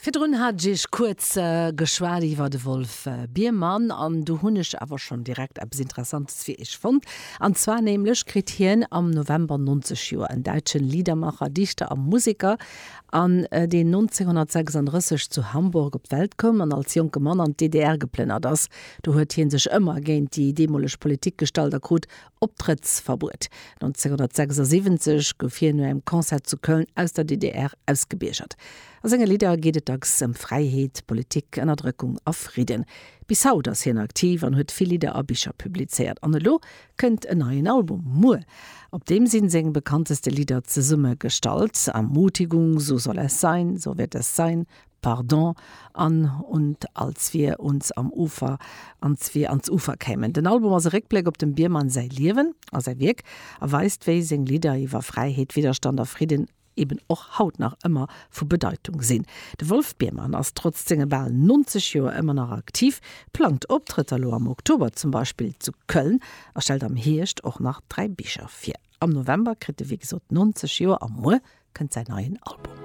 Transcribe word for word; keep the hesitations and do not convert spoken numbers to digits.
Virdrun hat ech iech kuerz geschwat iwwer de Wolf Biermann an do hunn ech awer schonn direkt eppes Interessantes fir iech fonnt. An zwar nämlech kritt hien am November neunzeg Joer, en däitschen Liedermacher, Dichter a Museker, an deen nonzénghonnertsechsanddrësseg zu Hamburg op d'Welt koum an als jonke Mann an d'D D R geplënnert ass. Do huet hie sech ëmmer géint déi deemoleg Politik gestallt a krut Optrëttsverbuet. nonzénghonnertsechsasiwwenzeg gouf hien no engem Concert zu Köln aus der D D R ausgebiergert. A senge Lidder geet et dacks ëm Fräiheet, Politik, Ënnerdrëckung a Fridden. Bis haut ass hien aktiv an huet vill Lidder a Bicher publizéiert. An elo kënnt en neien Album, muer. Op deem sinn seng bekannteste Lidder zesummegestallt: Ermutigung, So soll es sein, So wird es sein, Pardon an Und als wir uns am Ufer ans wir ans Ufer kämen. Den Album ass e Réckbléck op dem Biermann säi Liewen a säi Wierk a weist, wéi seng Lidder iwwer Fräiheet, Widderstand a Fridden eben och haut nach ëmmer vu Bedeitung sinn. De Wolf Biermann ass trotz senge bal neunzeg Joer ëmmer nach aktiv, plangt Optrëtter lo am Oktober zum Beispill zu Köln a stellt am Hierscht och nach dräi Bicher vir. Am November kritt e wéi gesot neunzeg Joer a muer kënnt säin neien Album.